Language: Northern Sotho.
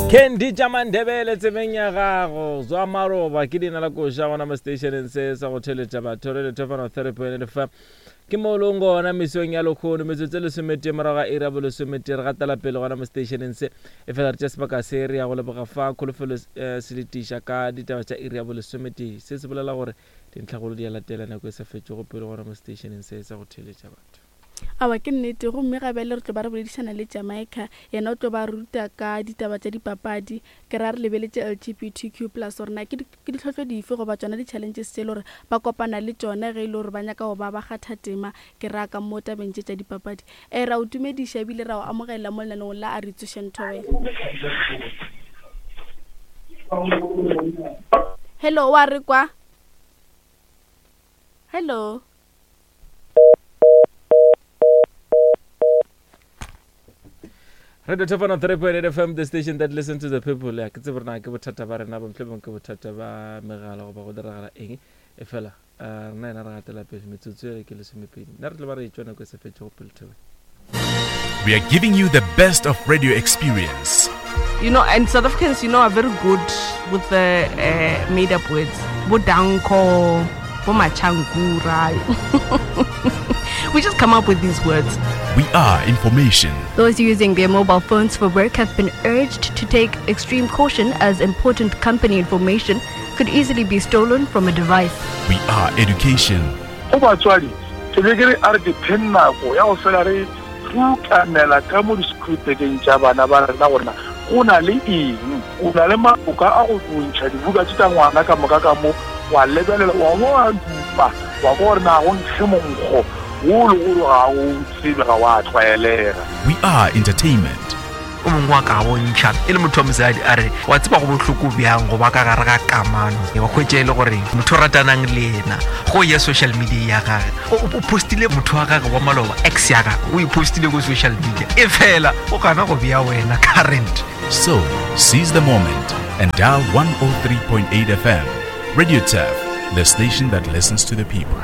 Candy tša Mandebele tsebeng ya gago zwa maroba ke leina la koša gona mo stationeng se sa go theletša batho re lethofano 3.5 ke mo leng gona mesong ya lekgono metsotso e lesometee morago ga iri ya bolesometee re gatela pele gona mo stationeng se e fela re tša sebaka se re ya go leboga fa kholofelo eh, seletiša ka ditaba tša iri ya bolesometee se se bolela gore dintlhagolo di a latela nako e sa fetšego pele gona mo stationeng se sa go theletša batho. Aowa, ke nnete. Gomme ga bjale re tlo ba re boledišana le Jamaica. Yena o tlo ba ruta ka ditaba tša dipapadi. Ke ra re lebeletše LGBTQ plus gore na ke ke ditlhohlo dife goba tšona di-challenges tše e le gore ba kopana le tšona ge e le gore ba nyaka go ba ba kgatha tema, ke ra ka mo tabeng tše tša dipapadi. Ee, ra o tumediša ebile ra o amogela mo lenaneong la A Re Tsošeng Thobela. Hello, wa re kwa? Hello. Radio Top 103.8 FM, the station that listens to the people. Ya, ke tsebe rena ke bothata ba rena, mohlomong ke bothata ba megala goba go diragala eng. E fela, eh, rena yena re gatela pele metsotso ele ke lesomepedi. Nna re tlo ba re etšwa nako e sa fetšego pele thobela. We are giving you the best of radio experience. You know, and South Africans, you know, are very good with the uh, made up words. Bodanko, Bomachankura. we just come up with these words. We are information. Those using their mobile phones for work have been urged to take extreme caution as important company information could easily be stolen from a device. We are education. Go batswadi, ke be ke re a re dipheng nako ya go fela re rukanela ka mo disekhurupekeng tša bana ba rena gore na go na le eng. O na le maloka a go ntšha dibuka tše tša ngwana ka moka ka mo, wa lebelela, wa bo wa dupa, wa kwa gore na go nkge monkgo wo le gore ga o tsebe, ga wa tlwaelega. We are entertainment. O mongwe wa ka bontšha e le motho wa mosadi a re wa tseba go bohloko bjang go ba ka gare ga kamano wa hwetša e le gore motho o ratanang le yena go ya social media ya gage o postile motho wa gage wa maloba ex ya gage o e postile ko social media e fela o gana go bea wena current. So, seize the moment and dial 103.8 FM. Radio Turf, the station that listens to the people.